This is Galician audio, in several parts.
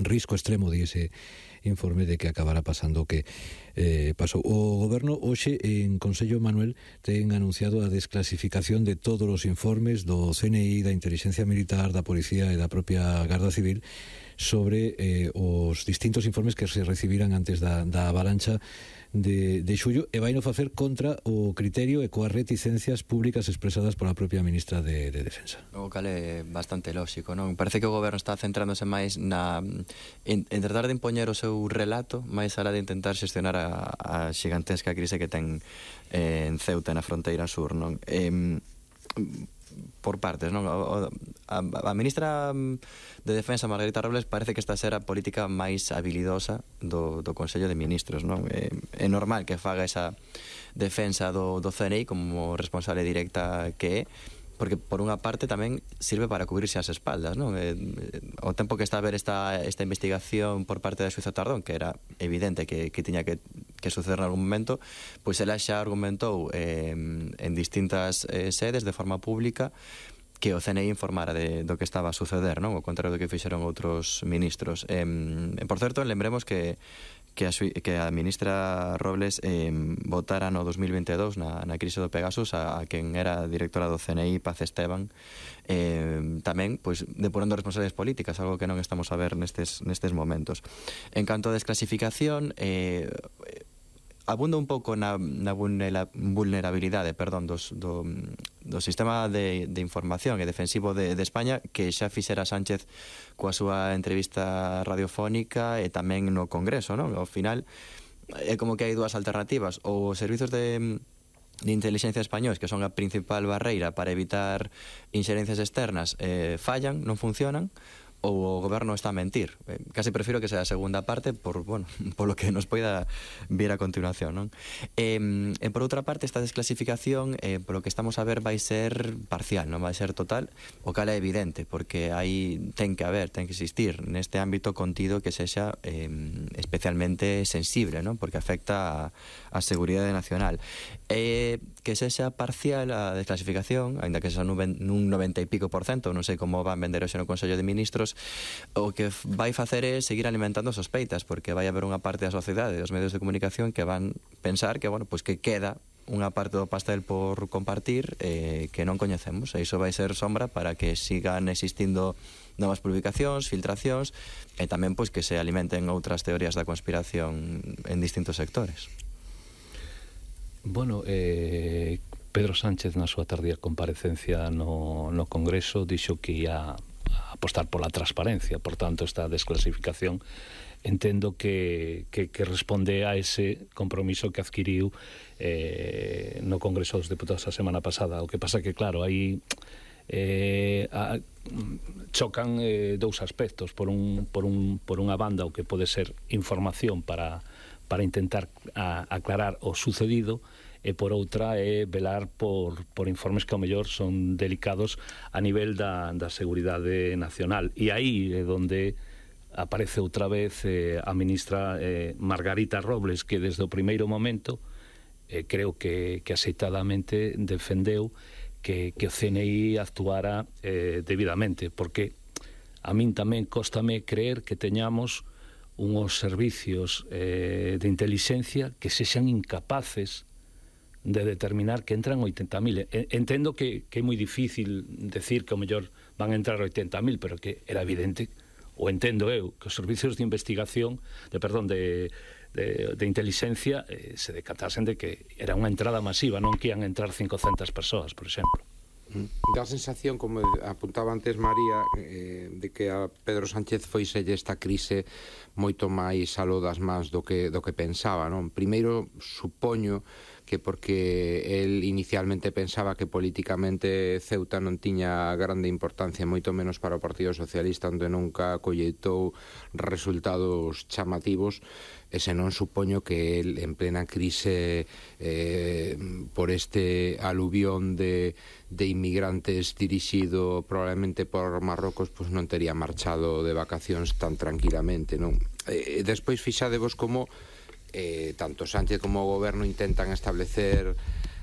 risco extremo de ese informe de que acabará pasando o que pasou. O Goberno hoxe en Consello, Manuel, ten anunciado a desclasificación de todos os informes do CNI, da Inteligencia Militar, da Policía e da propia Garda Civil sobre os distintos informes que se recibiran antes da avalancha de xullo, e vai no facer contra o criterio e coas reticencias públicas expresadas pola propia ministra de Defensa. O cal é bastante lóxico, non? Parece que o Goberno está centrándose máis en tratar de impoñer o seu relato máis alá de intentar xestionar a xigantesca crise que ten en Ceuta, na fronteira sur, non? Por partes, non? A ministra de Defensa, Margarita Robles, parece que esta será a política máis habilidosa do Consello de Ministros, non? É normal que faga esa defensa do CNI como responsable directa que é, porque por unha parte tamén sirve para cubrirse as espaldas, non? O tempo que está a ver esta investigación por parte da xueza Tardón, que era evidente que tiña que suceder en algún momento, pois ela xa argumentou en distintas sedes de forma pública que o CNI informara do que estaba a suceder, non? O contrario do que fixeron outros ministros. Por certo, lembremos que a ministra Robles votara no 2022 na crise do Pegasus a quen era directora do CNI, Paz Esteban, tamén pois depurando responsabilidades políticas, algo que non estamos a ver nestes momentos. En canto a desclasificación, abunda un pouco na vulnerabilidade, do sistema de información e defensivo de España, que xa fixera Sánchez coa súa entrevista radiofónica e tamén no Congreso, non? Ao final é como que hai dúas alternativas: ou os servizos de inteligencia españoles, que son a principal barreira para evitar inxerencias externas, fallan, non funcionan, ou o Goberno está a mentir. Casi prefiro que sea a segunda parte por lo que nos poida vir a continuación, non? E por outra parte, esta desclasificación, polo que estamos a ver, vai ser parcial, non vai ser total, o cal é evidente, porque ten que existir neste ámbito contido que sexa especialmente sensible, non? Porque afecta a seguridade nacional. Que sexa parcial a desclasificación, aínda que sexa nun 90 e pico %, non sei como van vender hoxe no Consello de Ministros, o que vai facer é seguir alimentando sospeitas, porque vai haber unha parte da sociedade, dos medios de comunicación, que van pensar que, que queda unha parte do pastel por compartir que non coñecemos, e iso vai ser sombra para que sigan existindo novas publicacións, filtracións, e tamén que se alimenten outras teorías da conspiración en distintos sectores. Bueno, Pedro Sánchez na súa tardía comparecencia no Congreso dixo que ia apostar pola transparencia, por tanto esta desclasificación entendo que responde a ese compromiso que adquiriu no Congreso dos Deputados a semana pasada. O que pasa que, claro, aí chocan dous aspectos. Por unha banda, o que pode ser información para intentar aclarar o sucedido, e por outra é velar por informes que ao mellor son delicados a nivel da seguridade nacional. E aí é onde aparece outra vez a ministra Margarita Robles, que desde o primeiro momento creo que aceitadamente defendeu que o CNI actuara debidamente, porque a min tamén cóstame creer que teñamos unhos servicios de inteligencia que sexan incapaces de determinar que entran 80.000. Entendo que é moi difícil decir que ao mellor van a entrar 80.000, pero que era evidente, ou entendo eu, que os servicios de investigación, de inteligencia se decatasen de que era unha entrada masiva, non que ian entrar 500 persoas, por exemplo. Dá a sensación, como apuntaba antes María, de que a Pedro Sánchez foiselle esta crise moito máis aló das mans do que pensaba, non? Primeiro, supoño que porque el inicialmente pensaba que políticamente Ceuta non tiña grande importancia, moito menos para o Partido Socialista, onde nunca colleitou resultados chamativos, e senón supoño que el, en plena crise por este aluvión de inmigrantes dirixido probablemente por Marrocos, pois non tería marchado de vacacións tan tranquilamente, non? Despois fixadevos como tanto Sánchez como o Goberno intentan establecer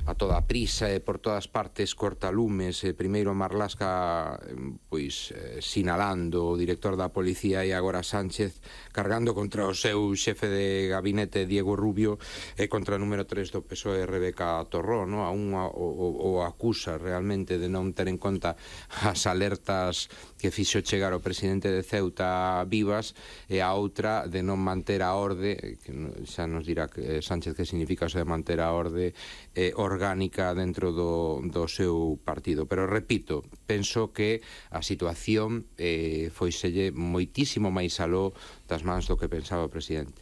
a toda prisa e por todas partes cortalumes, primeiro Marlaska pois sinalando o director da policía e agora Sánchez cargando contra o seu xefe de gabinete Diego Rubio e contra o número 3 do PSOE Rebeca Torró, no? A un o acusa realmente de non ter en conta as alertas que fixo chegar o presidente de Ceuta vivas, e a outra de non manter a orde, que xa nos dirá Sánchez que significa eso de manter a orde orgánica dentro do seu partido. Pero repito, penso que a situación foiselle moitísimo máis aló das mans do que pensaba o presidente.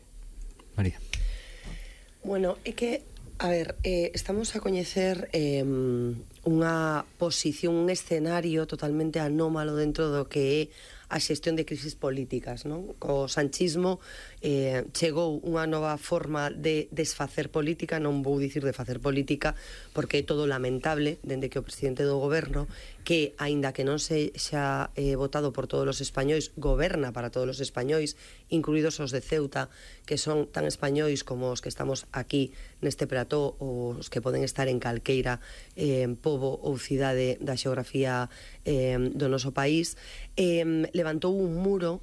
María. Bueno, é que, a ver, estamos a coñecer unha posición, un escenario totalmente anómalo dentro do que é a xestión de crisis políticas, non? Co sanchismo chegou unha nova forma de desfacer política, non vou dicir de facer política, porque é todo lamentable, dende que o presidente do goberno, que, aínda que non se xa votado por todos os españois, goberna para todos os españois, incluídos os de Ceuta, que son tan españois como os que estamos aquí neste plató, ou os que poden estar en calqueira pobo ou cidade da xeografía do noso país, levantou un muro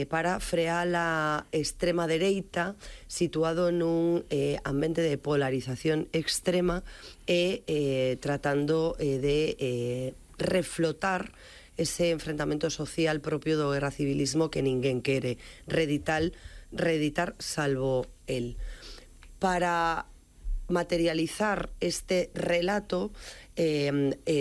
para frear a extrema dereita, situado nun ambiente de polarización extrema e tratando de reflotar ese enfrentamento social propio do guerra civilismo que ninguén quere reeditar salvo el. Para materializar este relato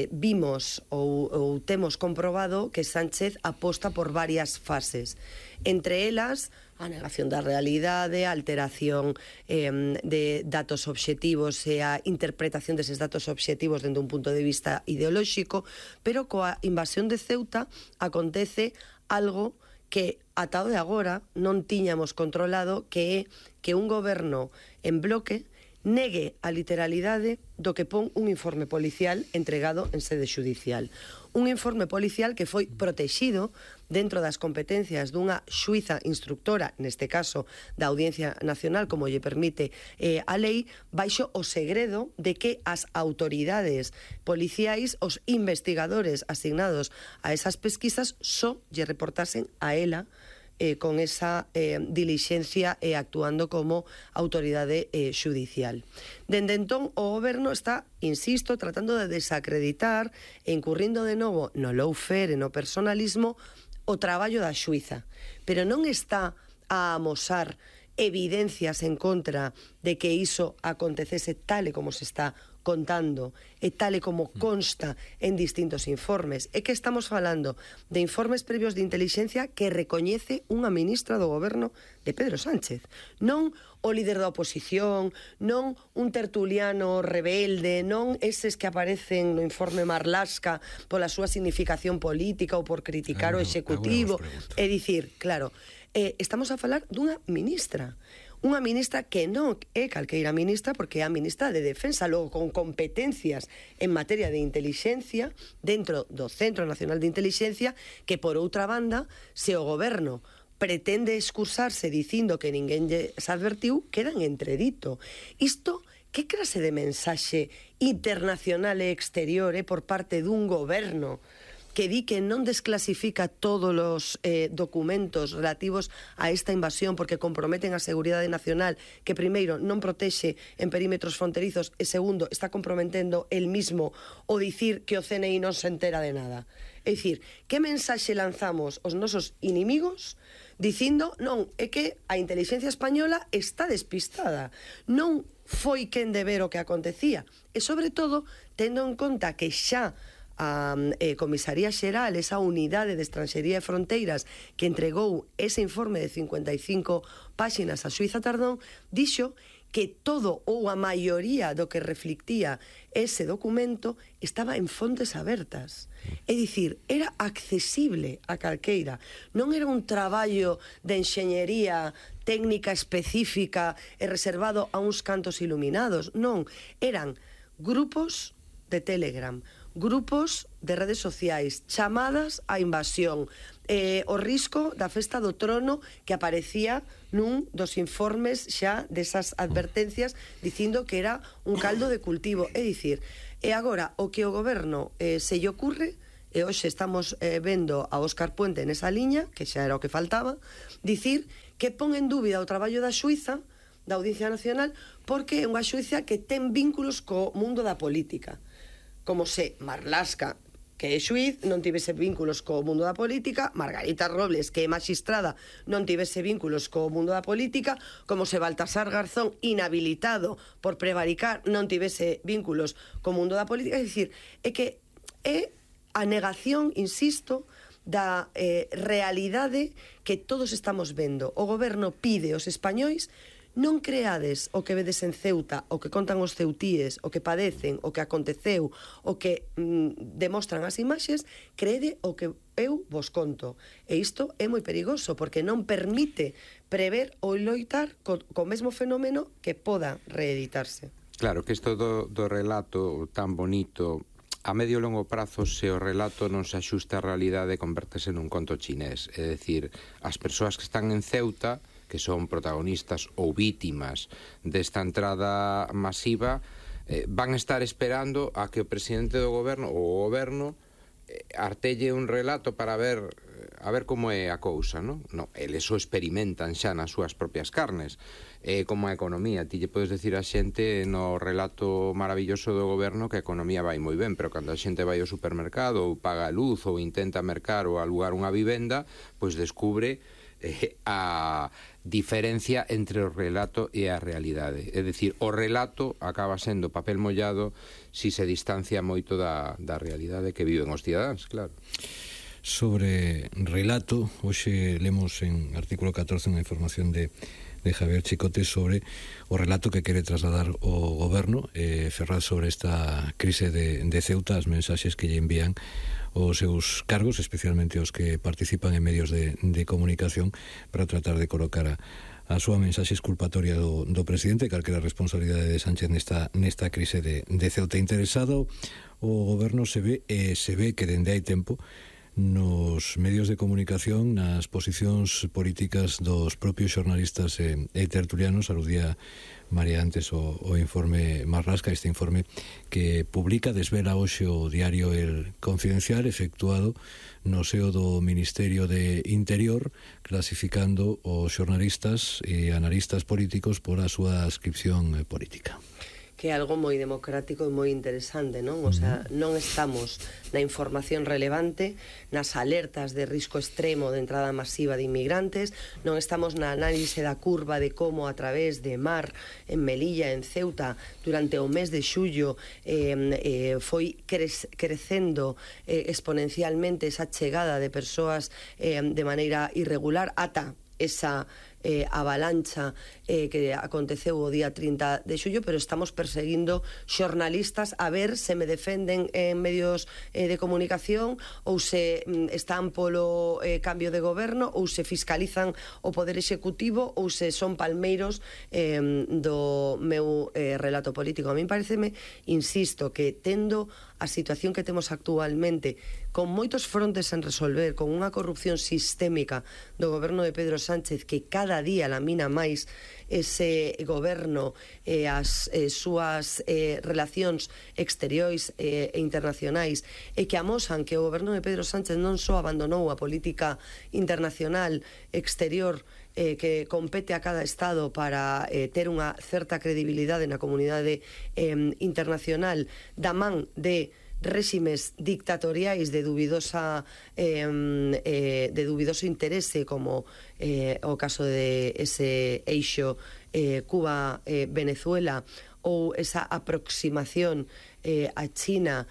vimos ou temos comprobado que Sánchez aposta por varias fases, entre elas a negación da realidade, a alteración de datos obxectivos e a interpretación deses datos obxectivos dende un punto de vista ideolóxico, pero coa invasión de Ceuta acontece algo que ata o de agora non tiñamos controlado, que é que un goberno en bloque negue a literalidade do que pon un informe policial entregado en sede xudicial. Un informe policial que foi protexido dentro das competencias dunha xuíza instructora, neste caso da Audiencia Nacional, como lle permite a lei, baixo o segredo de que as autoridades policiais, os investigadores asignados a esas pesquisas, só lle reportasen a ela con esa dilixencia e actuando como autoridade xudicial. Dende entón, o goberno está, insisto, tratando de desacreditar e incurrindo de novo no lawfare e no personalismo o traballo da xuíza, pero non está a amosar evidencias en contra de que iso acontecese tal e como se está contando e tal e como consta en distintos informes. É que estamos falando de informes previos de intelixencia que recoñece unha ministra do goberno de Pedro Sánchez, non o líder da oposición, non un tertuliano rebelde, non eses que aparecen no informe Marlaska pola súa significación política ou por criticar o executivo. É dicir, claro, estamos a falar dunha ministra que non é calqueira ministra, porque é a ministra de Defensa, logo con competencias en materia de intelixencia dentro do Centro Nacional de Intelixencia, que por outra banda, se o goberno pretende excusarse dicindo que ninguén se advertiu, queda en entredito. Isto, que clase de mensaxe internacional e exterior por parte dun goberno que di que non desclasifica todos os documentos relativos a esta invasión porque comprometen a seguridade nacional, que primeiro non protexe en perímetros fronterizos e segundo está comprometendo el mismo o dicir que o CNI non se entera de nada? É dicir, que mensaxe lanzamos aos nosos inimigos dicindo, non, é que a inteligencia española está despistada, non foi quen de ver o que acontecía, e sobre todo tendo en conta que xa a Comisaría Xeral, esa unidade de Estranxería e Fronteiras que entregou ese informe de 55 páxinas a Suíza Tardón, dixo que todo ou a maioría do que reflictía ese documento estaba en fontes abertas. É dicir, era accesible a calqueira. Non era un traballo de enxeñería técnica específica e reservado a uns cantos iluminados. Non, eran grupos de Telegram, grupos de redes sociais, chamadas á invasión, o risco da festa do trono que aparecía nun dos informes xa desas advertencias dicindo que era un caldo de cultivo. É dicir, e agora o que o goberno se lle ocurre, e hoxe estamos vendo a Óscar Puente nesa liña, que xa era o que faltaba, dicir que pon en dúbida o traballo da xuíza, da Audiencia Nacional, porque é unha xuíza que ten vínculos co mundo da política. Como se Marlaska, que é xuíz, non tivese vínculos co mundo da política, Margarita Robles, que é magistrada, non tivese vínculos co mundo da política, como se Baltasar Garzón, inhabilitado por prevaricar, non tivese vínculos co mundo da política. É dicir, é que é a negación, insisto, da realidade que todos estamos vendo. O goberno pide aos españois: non creades o que vedes en Ceuta, o que contan os ceutíes, o que padecen, o que aconteceu, o que demostran as imaxes, crede o que eu vos conto. E isto é moi perigoso, porque non permite prever ou loitar co mesmo fenómeno que poda reeditarse. Claro, que isto do relato tan bonito, a medio e longo prazo, se o relato non se axusta á realidade, convértese nun conto chinés. É dicir, as persoas que están en Ceuta, que son protagonistas ou vítimas desta entrada masiva, van estar esperando a que o presidente do goberno ou o goberno artelle un relato para ver como é a cousa, non? No, eles o experimentan xa nas súas propias carnes. Como a economía, ti lle podes decir a xente no relato maravilloso do goberno que a economía vai moi ben, pero cando a xente vai ao supermercado ou paga a luz ou intenta mercar ou alugar unha vivenda, pois descubre a diferencia entre o relato e a realidade. É dicir, o relato acaba sendo papel mollado si se distancia moito da realidade que viven os cidadáns, claro. Sobre relato, hoxe lemos en artículo 14 unha información de Javier Chicote sobre o relato que quere trasladar o goberno, Ferraz, sobre esta crise de Ceuta, as mensaxes que lle envían os seus cargos, especialmente os que participan en medios de comunicación, para tratar de colocar a súa mensaxe exculpatoria do presidente, calquera responsabilidade de Sánchez nesta crise de Ceuta. Interesado o goberno se ve que dende hai tempo nos medios de comunicación, nas posicións políticas dos propios xornalistas e tertulianos. Aludía María antes o informe Marlaska, este informe que publica, desvela hoxe o diario El Confidencial, efectuado no seo do Ministerio de Interior, clasificando os xornalistas e analistas políticos por a súa adscripción política. Que é algo moi democrático e moi interesante, non? O sea, non estamos na información relevante, nas alertas de risco extremo de entrada masiva de inmigrantes, non estamos na análise da curva de como a través de mar en Melilla, en Ceuta, durante o mes de xullo foi crecendo exponencialmente esa chegada de persoas de maneira irregular ata esa avalancha que aconteceu o día 30 de xullo, pero estamos perseguindo xornalistas a ver se me defenden en medios de comunicación ou se están polo cambio de goberno ou se fiscalizan o poder executivo ou se son palmeiros do meu relato político. A mí pareceme, insisto, que tendo a situación que temos actualmente, con moitos frontes en resolver, con unha corrupción sistémica do goberno de Pedro Sánchez que cada día lamina máis ese goberno e as súas relacións exteriores e internacionais, e que amosan que o goberno de Pedro Sánchez non só abandonou a política internacional exterior que compete a cada Estado para ter unha certa credibilidade na comunidade internacional, da man de réximes dictatoriais de dubidoso interese, como o caso de ese eixo Cuba-Venezuela, ou esa aproximación a China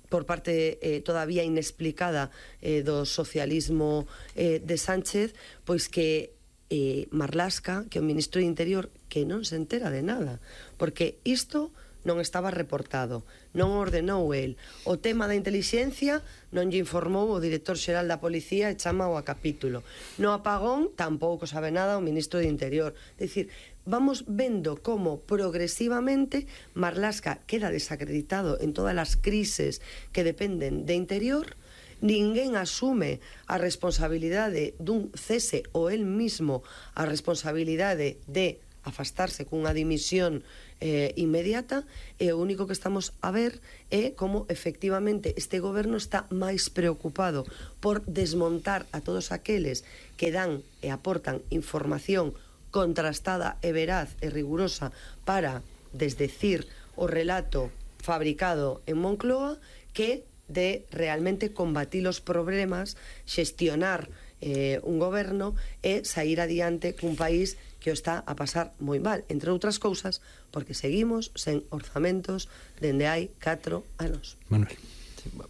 por parte todavía inexplicada do socialismo de Sánchez, pois que Marlaska, que é o ministro de Interior, que non se entera de nada, porque isto non estaba reportado, non ordenou el. O tema da intelixencia non lle informou o director xeral da policía e chamao a capítulo. No apagón tampouco sabe nada o ministro de Interior. É dicir, vamos vendo como progresivamente Marlaska queda desacreditado en todas as crises que dependen de Interior, ninguén asume a responsabilidade dun cese ou el mismo a responsabilidade de afastarse cunha dimisión inmediata, e o único que estamos a ver é como efectivamente este goberno está máis preocupado por desmontar a todos aqueles que dan e aportan información contrastada e veraz e rigurosa para desdecir o relato fabricado en Moncloa, que de realmente combatir os problemas, xestionar un goberno e sair adiante cun país que o está a pasar moi mal, entre outras cousas, porque seguimos sen orzamentos dende hai 4 anos. Manuel.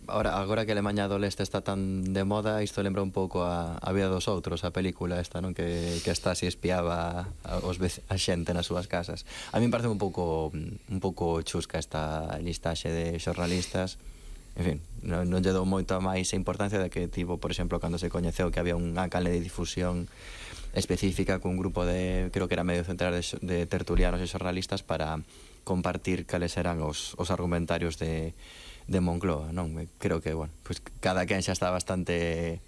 Agora que Alemanha do Leste está tan de moda, isto lembra un pouco a vida dos outros, a película esta, non? Que está si espiaba a xente nas súas casas. A mí me parece un pouco chusca esta listaxe de xornalistas. En fin, non lle dou moita máis importancia de que tivo, por exemplo, cando se coñeceu que había unha canle de difusión específica cun grupo de, creo que era medio central de tertulianos e xornalistas para compartir cales eran os argumentarios de Moncloa, non? Creo que, bueno, pues cada quen xa está bastante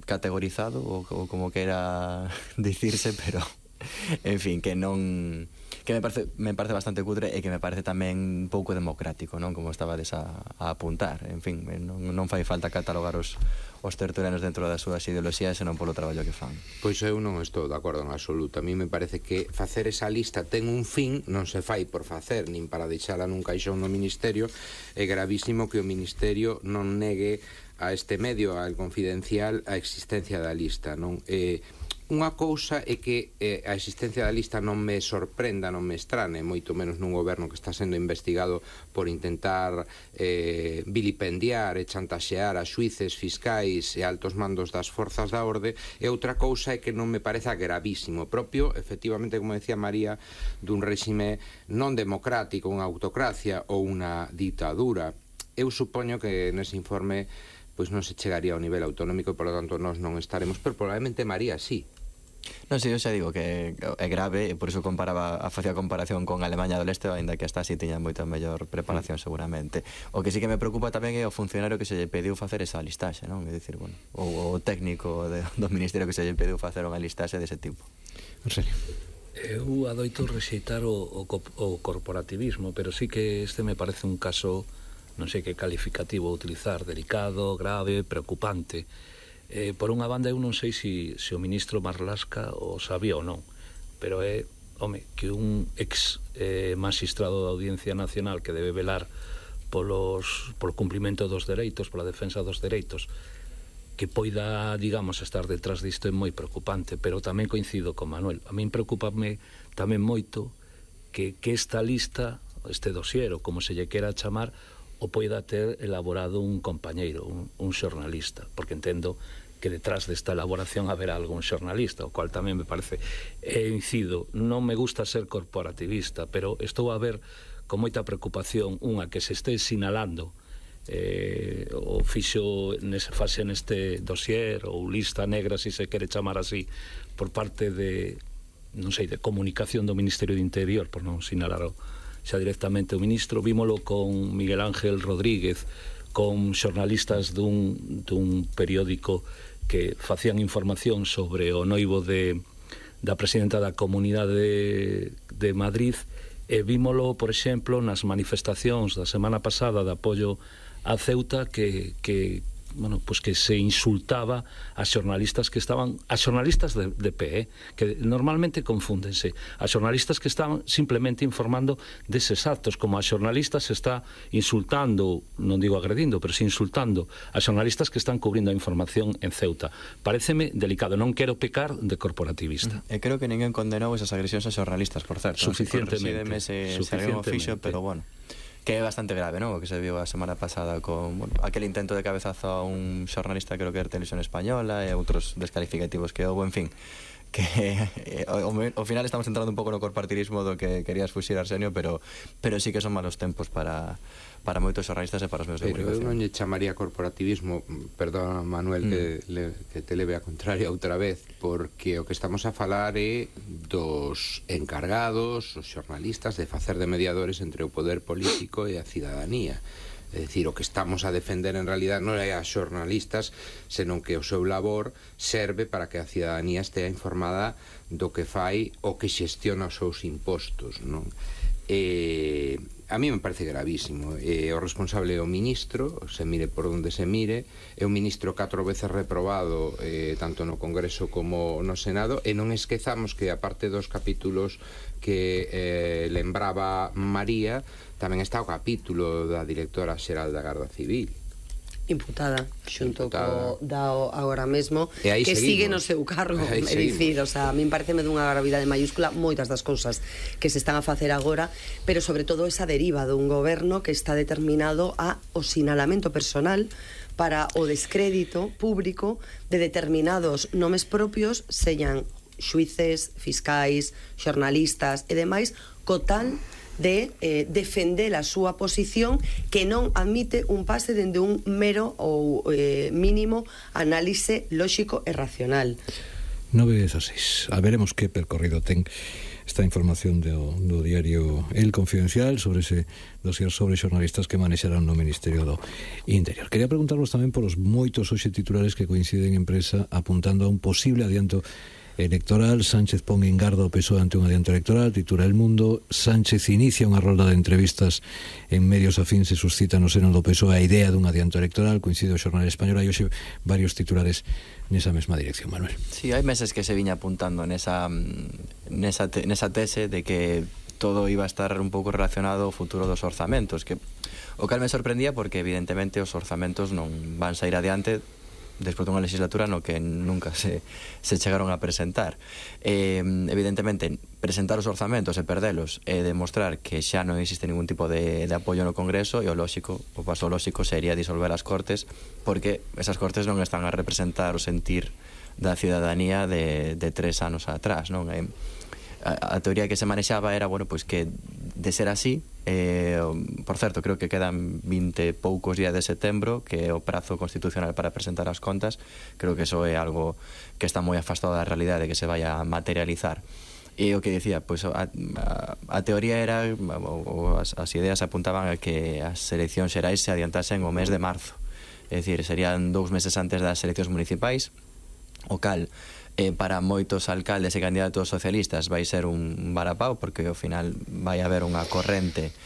categorizado ou como quera dicirse, pero en fin, que non, que me parece bastante cutre e que me parece tamén un pouco democrático, non? Como estabades a apuntar. En fin, non fai falta catalogar os tertulianos dentro das súas ideoloxías, senón polo traballo que fan. Pois eu non estou de acordo en absoluto. A mí me parece que facer esa lista ten un fin, non se fai por facer, nin para deixala nun caixón no Ministerio. É gravísimo que o Ministerio non negue a este medio, al Confidencial, a existencia da lista, non? Unha cousa é que a existencia da lista non me sorprenda, non me estrane, moito menos nun goberno que está sendo investigado por intentar vilipendiar e chantaxear a xuíces, fiscais e altos mandos das forzas da orde, e outra cousa é que non me parece gravísimo propio, efectivamente, como decía María, dun réxime non democrático, unha autocracia ou unha ditadura. Eu supoño que nese informe pois non se chegaría ao nivel autonómico e, por lo tanto, nós non estaremos, pero probablemente María sí. Non, si, eu xa digo que é grave e por iso facía comparación con Alemanha do Leste, ainda que hasta así tiña moita mellor preparación seguramente. O que sí que me preocupa tamén é o funcionario que se lle pediu facer esa listaxe, non? É dicir, bueno, o técnico do Ministerio que se lle pediu facer unha listaxe dese tipo. En serio. Eu adoito rexeitar o corporativismo, pero sí que este me parece un caso, non sei que calificativo utilizar, delicado, grave, preocupante. Por unha banda, eu non sei se o ministro Marlaska o sabía ou non, pero é, que un ex magistrado da Audiencia Nacional que debe velar polo cumprimento dos dereitos, pola defensa dos dereitos, que poida, digamos, estar detrás disto é moi preocupante, pero tamén coincido con Manuel. A min preocupame tamén moito que esta lista, este dossier, ou como se lle quera chamar, o poida ter elaborado un compañeiro, un xornalista, porque entendo que detrás desta elaboración haberá algún xornalista, o cual tamén me parece, incido, non me gusta ser corporativista, pero estou a ver con moita preocupación unha que se este sinalando o fixo neste dossier ou lista negra, se se quere chamar así, por parte de, non sei, de comunicación do Ministerio de Interior, por non sinalar xa directamente o ministro. Vímolo con Miguel Ángel Rodríguez, con xornalistas dun periódico que facían información sobre o noivo da presidenta da Comunidade de Madrid, e vímolo, por exemplo, nas manifestacións da semana pasada de apoio a Ceuta, que se insultaba a xornalistas que estaban, a xornalistas de pé, que normalmente confúndense, a xornalistas que estaban simplemente informando deses actos, como a xornalistas se está insultando, non digo agredindo, pero si insultando a xornalistas que están cubrindo a información en Ceuta. Paréceme delicado, non quero pecar de corporativista. E creo que ninguén condenou esas agresións a xornalistas, por certo. Suficientemente. Pero bueno, que é bastante grave, non? O que se viu a semana pasada con, bueno, aquel intento de cabezazo a un xornalista, creo que era Televisión Española, e outros descalificativos que houve, en fin, que ao final estamos entrando un pouco no corporativismo do que querías fuxir, Arsenio, pero sí que son malos tempos para moitos xornalistas e para os meus de comunicación. Pero eu non lle chamaría corporativismo, perdón, Manuel, que te leve a contraria outra vez, porque o que estamos a falar é dos encargados, os xornalistas, de facer de mediadores entre o poder político e a cidadanía. É dicir, o que estamos a defender en realidad non é as xornalistas, senón que o seu labor serve para que a cidadanía estea informada do que fai o que xestiona os seus impostos, non? A mí me parece gravísimo. O responsable é o ministro, se mire por onde se mire, é un ministro 4 veces reprobado tanto no Congreso como no Senado, e non esquezamos que aparte dos capítulos que lembraba María, tamén está o capítulo da directora xeral da Garda Civil, imputada xunto co DAO agora mesmo, que seguimos. sigue no seu cargo, é dicir, o sea, a min pareceme dunha gravidade mayúscula moitas das cousas que se están a facer agora, pero sobre todo esa deriva dun goberno que está determinado a o sinalamento personal para o descrédito público de determinados nomes propios, señan xuíces, fiscais, xornalistas e demais, co tal de defender a súa posición, que non admite un pase dende un mero ou mínimo análise lóxico e racional. 9:16. A veremos que percorrido ten esta información do diario El Confidencial sobre ese dossier sobre xornalistas que manexarán no Ministerio do Interior. Quería preguntarvos tamén por os moitos hoxe titulares que coinciden en prensa apuntando a un posible adianto electoral. Sánchez pon en garda o PSOE ante un adianto electoral, titula El Mundo. Sánchez inicia unha rolda de entrevistas en medios afíns e suscita no seno do PSOE a idea dun adianto electoral. Coincide o Xornal Español, hai hoxe varios titulares nesa mesma dirección, Manuel. Sí, hai meses que se viña apuntando nesa tese de que todo iba a estar un pouco relacionado ao futuro dos orzamentos, que o cal me sorprendía porque evidentemente os orzamentos non van sair adiante despois dunha legislatura no que nunca se chegaron a presentar. Evidentemente, presentar os orzamentos e perdelos e demostrar que xa non existe ningún tipo de apoio no Congreso, e o paso lóxico sería disolver as Cortes, porque esas Cortes non están a representar o sentir da cidadanía de 3 anos atrás, non? A teoría que se manexaba era, bueno, pois que de ser así, por certo, creo que quedan 20 poucos días de setembro, que é o prazo constitucional para presentar as contas. Creo que eso é algo que está moi afastado da realidade, que se vaya a materializar. E o que dicía, pois a teoría era, as ideas apuntaban a que as eleccións xerais se adiantasen o mes de marzo, é dicir, serían 2 meses antes das eleccións municipais, o cal para moitos alcaldes e candidatos socialistas vai ser un varapau, porque ao final vai haber unha corrente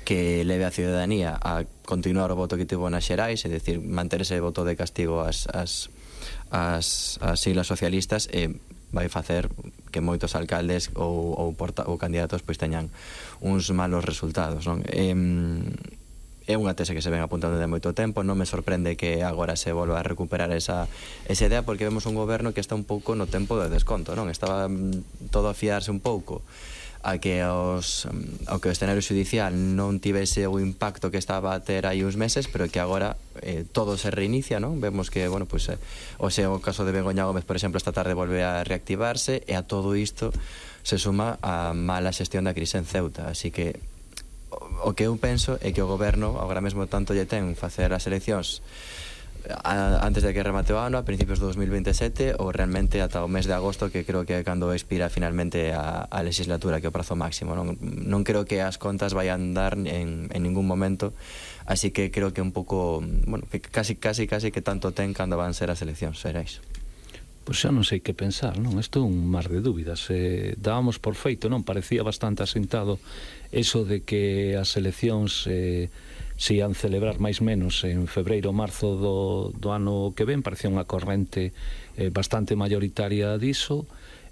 que leve a ciudadanía a continuar o voto que tivo nas xerais, é dicir, manter ese voto de castigo ás siglas socialistas, e vai facer que moitos alcaldes ou candidatos pois teñan uns malos resultados, non? É unha tese que se ven apuntando de moito tempo. Non me sorprende que agora se volva a recuperar esa idea, porque vemos un goberno que está un pouco no tempo de desconto, non? Estaba todo a fiarse un pouco a que ao que o escenario judicial non tivese o impacto que estaba a ter aí uns meses, pero que agora todo se reinicia, non? Vemos que, bueno, pues, o caso de Begoña Gómez, por exemplo, esta tarde volve a reactivarse, e a todo isto se suma a mala xestión da crise en Ceuta. Así que o que eu penso é que o goberno agora mesmo tanto lle ten facer as eleccións antes de que remate o ano, a principios de 2027, ou realmente ata o mes de agosto, que creo que é cando expira finalmente a legislatura, que é o prazo máximo. Non creo que as contas vayan dar en ningún momento, así que creo que un pouco, bueno, que casi que tanto ten cando van ser as eleccións xerais. Pois xa non sei que pensar, non? Isto é un mar de dúbidas. Dábamos por feito, non? Parecía bastante asentado eso de que as eleccións se ian celebrar máis menos en febreiro ou marzo do ano que ven. Parecía unha corrente bastante mayoritaria diso.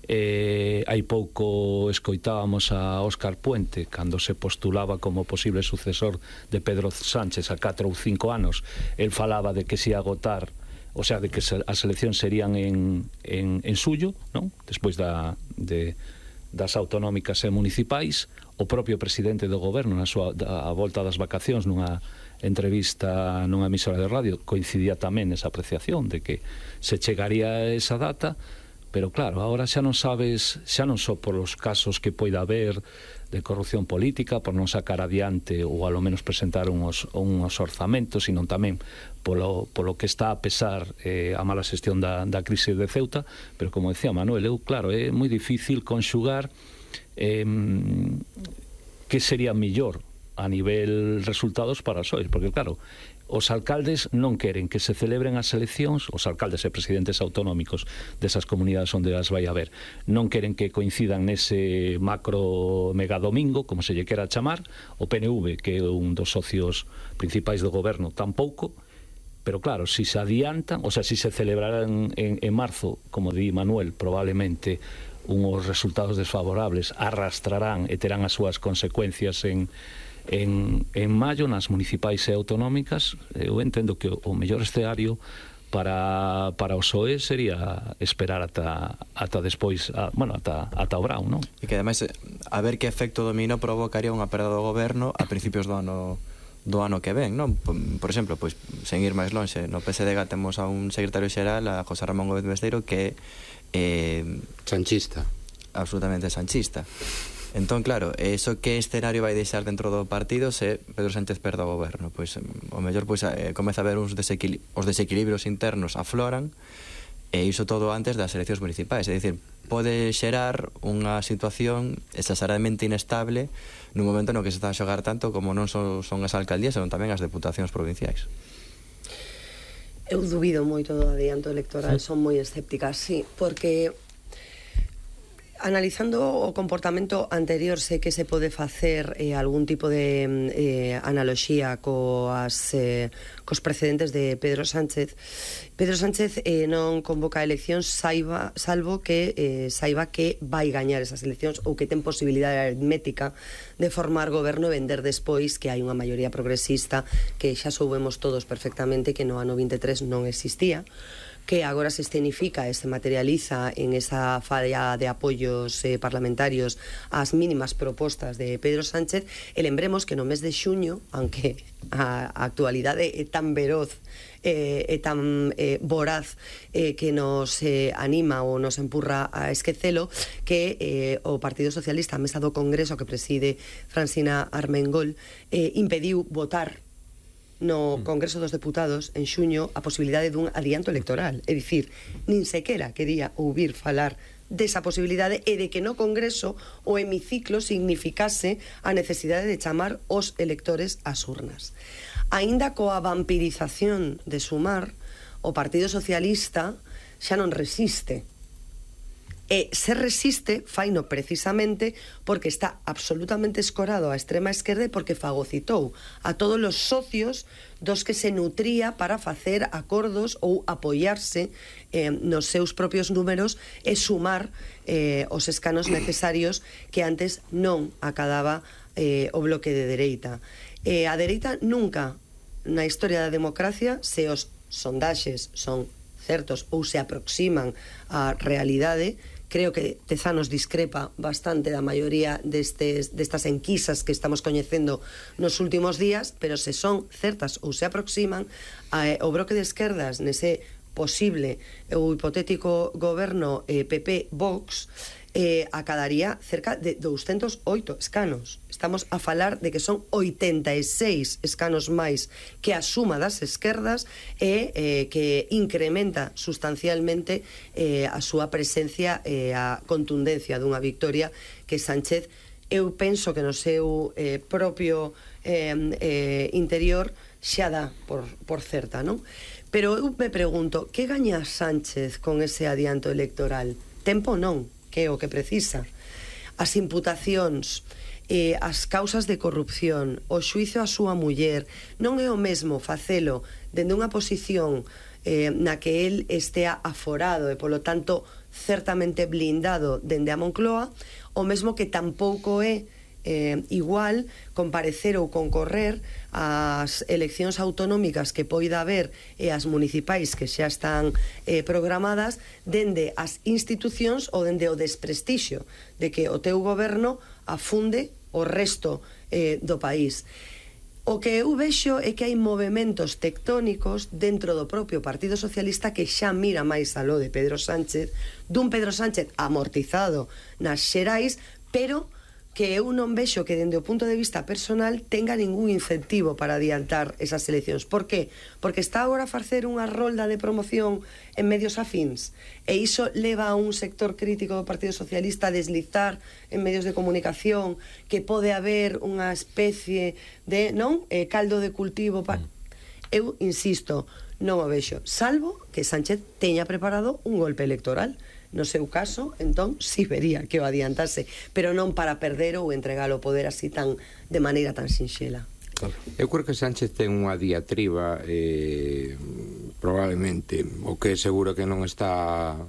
Hai pouco escoitábamos a Óscar Puente cando se postulaba como posible sucesor de Pedro Sánchez a 4 ou 5 anos. El falaba de que se ia agotar, o sea, de que as eleccións serían en xullo, non? Despois das autonómicas e municipais. O propio presidente do goberno, a volta das vacacións, nunha entrevista nunha emisora de radio, coincidía tamén esa apreciación de que se chegaría a esa data. Pero claro, agora xa non sabes, xa non só por os casos que poida haber de corrupción política, por non sacar adiante ou alo menos presentar uns orzamentos, sino tamén polo que está a pesar a mala xestión da crise de Ceuta. Pero como decía Manuel, claro, é moi difícil conxugar que sería mellor a nivel resultados para os PSOE, porque claro, os alcaldes non queren que se celebren as eleccións, os alcaldes e presidentes autonómicos desas comunidades onde as vai haber, non queren que coincidan nese macro mega domingo, como se lle quera chamar, o PNV, que é un dos socios principais do goberno, tampouco. Pero claro, si se adiantan, o sea, si se celebrarán en marzo, como di Manuel, probablemente unhos resultados desfavorables arrastrarán e terán as súas consecuencias en maio nas municipais e autonómicas. Eu entendo que o mellor escenario para o PSOE sería esperar ata despois, ata o Brao, non? E que ademais, a ver que efecto dominó provocaría unha perda do goberno a principios do ano que ven, non? Por exemplo, pois, sen ir máis lonxe, no PSDG temos a un secretario xeral, a José Ramón Gómez Besteiro, que é sanchista, absolutamente sanchista. Entón, claro, eso que escenario vai deixar dentro do partido se Pedro Sánchez perde o goberno? Pois, o mellor, pois, comeza a ver os desequilibrios internos afloran, e iso todo antes das eleccións municipais, é dicir, pode xerar unha situación exageradamente inestable nun momento no que se está a xogar tanto como non son as alcaldías, senón tamén as deputacións provinciais. Eu dubido moito do adianto electoral, son moi escéptica, sí, porque analizando o comportamento anterior, sei que se pode facer algún tipo de analoxía cos precedentes de Pedro Sánchez. Pedro Sánchez non convoca eleccións salvo que saiba que vai gañar esas eleccións ou que ten posibilidade aritmética de formar goberno e vender despois que hai unha maioría progresista que xa soubemos todos perfectamente que no ano 23 non existía, que agora se escenifica e se materializa en esa falla de apoios parlamentarios ás mínimas propostas de Pedro Sánchez. E lembremos que no mes de xuño, aunque a actualidade é tan veroz e tan voraz que nos anima ou nos empurra a esquecelo, que o Partido Socialista, a mesa do Congreso que preside Francina Armengol, impediu votar no Congreso dos Deputados en xuño a posibilidade dun adianto electoral. É dicir, nin sequera quería ouvir falar desa posibilidade e de que no Congreso o hemiciclo significase a necesidade de chamar os electores ás urnas. Aínda coa vampirización de Sumar, o Partido Socialista xa non resiste. E se resiste, faino precisamente porque está absolutamente escorado á extrema esquerda e porque fagocitou a todos os socios dos que se nutría para facer acordos ou apoiarse nos seus propios números e sumar os escanos necesarios que antes non acadaba o bloque de dereita. A dereita nunca na historia da democracia, se os sondaxes son certos ou se aproximan á realidade, creo que Tezanos discrepa bastante da maioría destas enquisas que estamos coñecendo nos últimos días, pero se son certas ou se aproximan, o bloque de esquerdas nese posible ou hipotético goberno PP-Vox acadaría cerca de 208 escanos. Estamos a falar de que son 86 escanos máis que a suma das esquerdas e que incrementa sustancialmente a súa presencia e a contundencia dunha victoria que Sánchez, eu penso que no seu propio interior xa dá por certa, non? Pero eu me pregunto, que gaña Sánchez con ese adianto electoral? Tempo non, que é o que precisa. As imputacións, as causas de corrupción, o xuizo á súa muller, non é o mesmo facelo dende unha posición na que el estea aforado e, polo tanto, certamente blindado dende a Moncloa, o mesmo que tampouco é igual comparecer ou concorrer ás eleccións autonómicas que poida haber e as municipais que xa están programadas dende as institucións ou dende o desprestixio de que o teu goberno afunde o resto do país. O que eu vexo é que hai movementos tectónicos dentro do propio Partido Socialista que xa mira máis aló de Pedro Sánchez, dun Pedro Sánchez amortizado nas xerais, pero que eu non vexo que dende o punto de vista personal tenga ningún incentivo para adiantar esas eleccións. Por qué? Porque está agora a facer unha rolda de promoción en medios afíns e iso leva a un sector crítico do Partido Socialista a deslizar en medios de comunicación que pode haber unha especie de caldo de cultivo para... Eu insisto, non o vexo, salvo que Sánchez teña preparado un golpe electoral. No seu caso, entón, si vería que o adiantase, pero non para perder ou entregar o poder así de maneira tan sinxela. Eu creo que Sánchez ten unha diatriba probablemente, o que seguro que non está